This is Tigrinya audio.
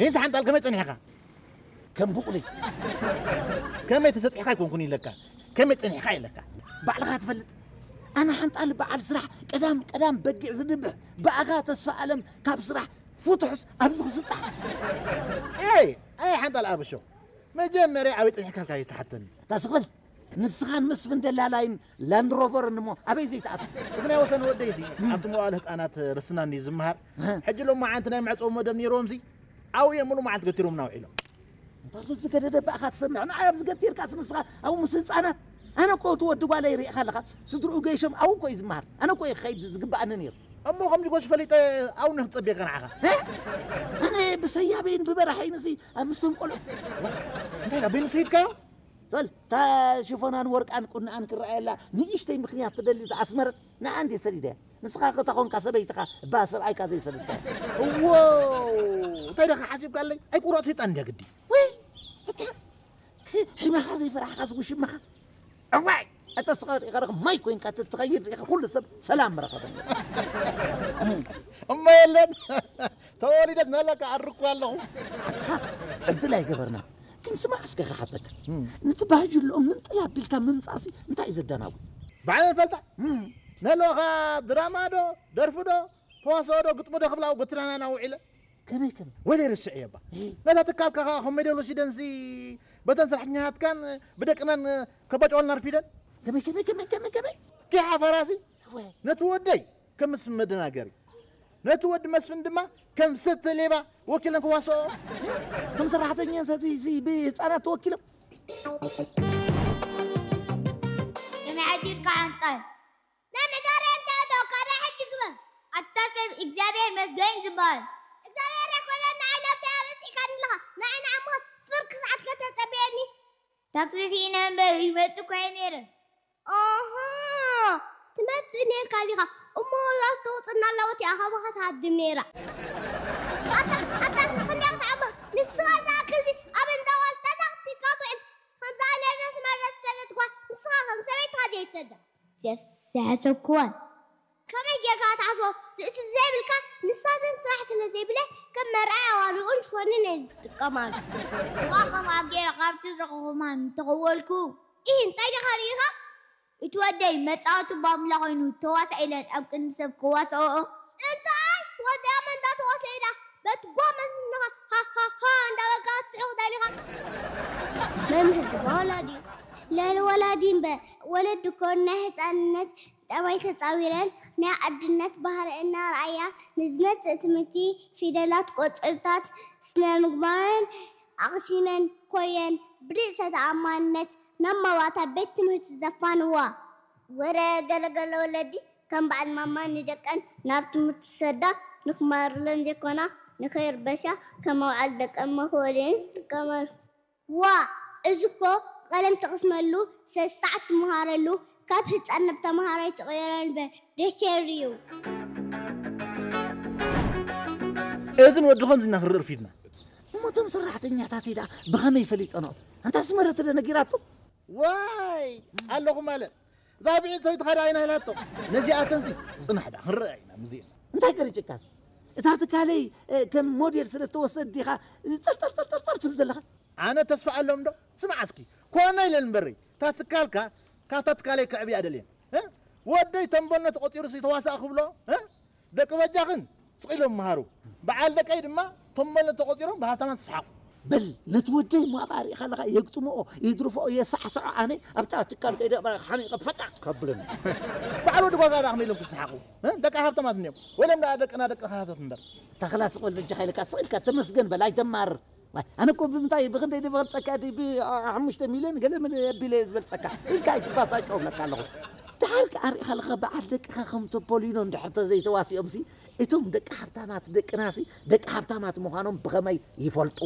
እንተ ሓንጣል ከመይ ጸኒሕካ? ከም ቡቕሊ። ከመይ ተሰጢሕካ ኣይኮንኩን ኢለካ፣ ከመይ ጸኒሕካ ኢለካ። ባዕልኻ ትፈልጥ። ኣነ ሓንጣል በዓል ስራሕ፣ ቀዳም ቀዳም በጊዕ ዝድብሕ፣ ብኣኻ ተስፋ ኣለም ካብ ስራሕ ፍቱሕስ ኣብዚ ክስጣሕ። ኣይ ኣይ ሓንጣል ኣብሾ፣ መጀመርያ ኣበይ ጸኒሕካ ኢልካ ይተሓተኒ። እታ ስቕበል። ንስኻን መስፍን ደላላይን ላንድ ሮቨርን እሞ ኣበይ ዘይትኣቱ? እቲ ናይ ወሰን ወደይሲ ኣብቲ መዋእለ ህፃናት ርስናን እዩ ዝመሃር። ሕጂ ሎማዓንቲ ናይ መዕፀዊ መደብ ነይርዎምሲ ኣብኡ እዮም ሙሉ መዓልቲ ገቲሮምና ውዒሎም። እንታ ዝገደደ ባእኻ ትሰምዕ፣ ንዓይ ኣብዚ ገቲርካስ ንስኻ ኣብኡ ምስ ህፃናት? ኣነ እኮ እቲ ወዲ ጓለይ ርኢኻ ኣለኻ፣ ስድርኡ ገይሾም ኣብኡ እኮ እዩ ዝመሃር። ኣነ እኮ እየ ክኸይድ ዝግባኣኒ ነይሩ። እሞ ከምዚ ጎሽ ፈሊጠ ኣብኡ ንክፀብየካ ንዓኻ። ኣነ ብሰያበይን ብበራሐይንሲ ኣብ ምስቶም ቆልዑ እንታይ ዳ በይኑ ስሂድካዮ? ሶል፣ እታ ሽፎናን ወርቃን ቁንኣን ክረኣየላ ንእሽተይ ምኽንያት ትደሊ ዝኣስመረት ንዓ እንዴ ሰዲደያ። ንስኻ ከታ ኾንካ ሰበይትኻ እባ ሰብኣይካ ዘይሰደድካ። እዎ፣ እንታይ ደኻ ሓሲብካለይ? ኣይ ቁሩዕ ሰይጣን እንድያ ግዲ። ወይ፣ እታ ሕ- ሒማኻ ዘይፈራሕኻስ ውሽማኻ። እዋይ፣ እታ ስኻ ሪእኻ ርኽ ማይ ኮይንካ ትትኸይድ ሪእኻ ኩሉ ሰብ ሰላም መረኸበ። እሞ የለን፣ ተወሊደት ናላካ ኣርኩ ኣለኹ። ሓቅኻ ዕድል ኣይገበርና። ግን ስማዕ እስከ ክሓተካ። ነቲ ባህጅልኦም ምንጥል ኣቢልካ ምምጻእሲ እንታይ እዩ ዘዳናጉ? ባዕለ ፈልጣ። ነለኻ ድራማ ዶ ደርፊ ዶ ተዋስኦ ዶ ግጥሚ ዶ ክብላ ጎትራና ናውዒለ። ከመይ ከመይ? ወለ ርስዕ እየባ። ነታ ትካልካ ኸዓ ከመይ ደሎ ሲደንሲ በተን ሰራሕተኛታትካን ብደቅናን ከባጭዋልና ርፊደን። ከመይ ከመይ ከመይ ከመይ ከመይ? ኪሓ ፈራሲ። ነቲ ወደይ ከምስ መደናገሪ፣ ነቲ ወዲ መስፍን ድማ ከም ሰተ ሌባ ወኪለን ክዋስኦ። ከም ሰራሕተኛታት እዚ ብህፃናት ተወኪሎም። ከመይ ሓዲርካ ሓንጣል? ናይ ምዳርያን ተእቶ ካዳ ሕጂ ግበር። ኣታ ሰብ እግዚኣብሔር መስገን ዝበሃል እግዚኣብሔር ያኮለን ንዓይ ለብሰ ረሲዕካኒ ኣለኻ። ንዓይ ንኣሞስ ፍርቂ ሰዓት ከተጸብየኒ። ታክሲ ስኢነ እምበር ይመጽእ እኮ እየ ነይረ። ኣሃ፣ ትመጽእ ኔርካ ዲኻ? እሞ እዛ ዝተወጽና ኣለወት እያ ካባኻ ትሃድም ኔራ። ኣታ፣ ኣታ፣ ክንደይ ክትዓምቕ? ንስኻ ዝኣክል እዚ ኣብ እንዳ ጓል ተሳኺትካ ትውዕል። ከምዛ ነርስ መርስ ዝሰደድኳ ንስኻ ከም ሰበይትኻ ዘይትሰዳ። ዘስ-፣ ዝሓሰብክዋን። ከመይ ጌርካ ትሓስቦ? ርእሲ ዘይብልካ፣ ንሳተን ስራሕ ስለ ዘይብለ ከም መርኣያ ዋልኡን ሽፎንን እየ ዝጥቀማሉ። እዋ ከምኣ ጌረ ካብቲ ዝረኸኹ ማን እንተኸወልኩ። ኢህ፣ እንታይ ዲኻ ርኢኻ? እቲ ወደይ መጻወቲ ባምላ ኮይኑ ተዋሳእ ኢለን ኣብ ቅድሚ ሰብ ክዋስኦ። እንታይ? ወደይ ኣብ መንዳ ተዋሳእ ኢላ በቲ ጓመ ዝንኻ ሃ ሃ ሃ እንዳበልካ ትስሕቕ ደሊኻ? መምህር ድማ ወላዲ እዩ። ልዕሊ ወላዲ እምበር፣ ወለዲ እኮ ናይ ህፃንነት ጠባይ ተፃዊረን ናይ ኣድነት ባህሪ እናርኣያ ንዝመፅእ ትምህርቲ ፊደላት፣ ቁፅርታት፣ ስነ ምግባርን ኣቕሲመን ኮየን ብርእሰ ተኣማንነት ናብ ማባታ ቤት ትምህርቲ ዘፋንዋ። ወረ ገለገለ ወለዲ ከም በዓል ማማ ንደቀን ናብ ትምህርቲ ዝሰዳ ንክማርለን ዘይኮና ንኸይርበሻ ከም መውዓል ደቀን መኽበሊኤን ዝጥቀማሉ። ዋ፣ እዚ እኮ ቀለም ትቕስመሉ፣ ሰሳዕ ትመሃረሉ፣ ካብ ህፃን ናብ ተምሃራይ ትቕየረሉ በ-፣ ደኬር እዩ። እዝን ወዲ ከምዚ ኢና ክንርኢ ርፊድና። እሞ እቶም ሰራሕተኛታት ደኣ ብኸመይ ፈሊጠንኦ? ኣንታ ኣስመረት ዶ ነጊራቶ? ዋይ፣ ኣለኹ ማለት። እዛ ብዒድ ሰበይቲ ኸዳ ኣይና ኢላቶ። ነዚኣተንሲ ጽናሕ ደኣ ክንርኣ ኢና፣ ሙዚየም። እንታይ ቀሪጭካስ? እታ ትካለይ፣ እ፣ ከም ሞዴል ስለ እተወሰድ ዲኻ ጸርጸር ጸርጸር ጸር ትብል ዘለኻ? ኣነ ተስፋ ኣሎም ዶ? ስማዕ እስኪ፣ ኮነ ኢለ እምበሪ፣ እታ ትካልካ፣ ካብታ ትካለይ ክዕብያ ደልየን። እ? ወደይ ተንበኖ ተቖጺሩ ሲ ተዋሳእ ክብሎ፣ እ? ደቂ በጃኽን ስቕ ኢሎም መሃሩ። በዓል ደቀይ ድማ ተንበኖ ተቖጺሮም ብሃብታማት ይስሓቑ። በል፣ ነቲ ወደይ እሞ ኣብኣ ርኢኻ ኣለኻ፣ የግጥምኦ፣ የድርፍኦ፣ የሳዕስዖ፣ ኣነ ኣብታ ትካል ከይደ ሓኒቐ ፈጫጭ ከብለኒ። በዓል ወዲ ጓጋ ደኣ ከመይ ኢሎም ክስሓቑ? እ? ደቂ ሃብታማት እንድዮም። ወይሎም ደኣ ደቅና ደቂ ሃብታት እምበር። ተኽላ ስቕ በል በጃኻ ኢለካ፣ ስቕ ኢልካ ተመስገን በል፣ ኣይተማርር። ዋይ፣ ኣነ እኮ ብምንታይ፣ ብኽንደይ ድበልጸካ ድዩ? ብ-፣ ሓሙሽተ ሚልዮን ገለ መለ ኣቢለ እየ ዝበልጸካ። ስኢልካ ኣይትባሳጨው እብለካ ኣለኹ። ድሓር ከኣ ርኢኻ ኣለኻ፣ በዓል ደቅኻ ከም ቶፖሊኖ እንድሕር ተዘይተዋሲኦምሲ፣ እቶም ደቂ ሃብታማት ደቅናሲ፣ ደቂ ሃብታማት ምዃኖም ብኸመይ ይፈልጡ?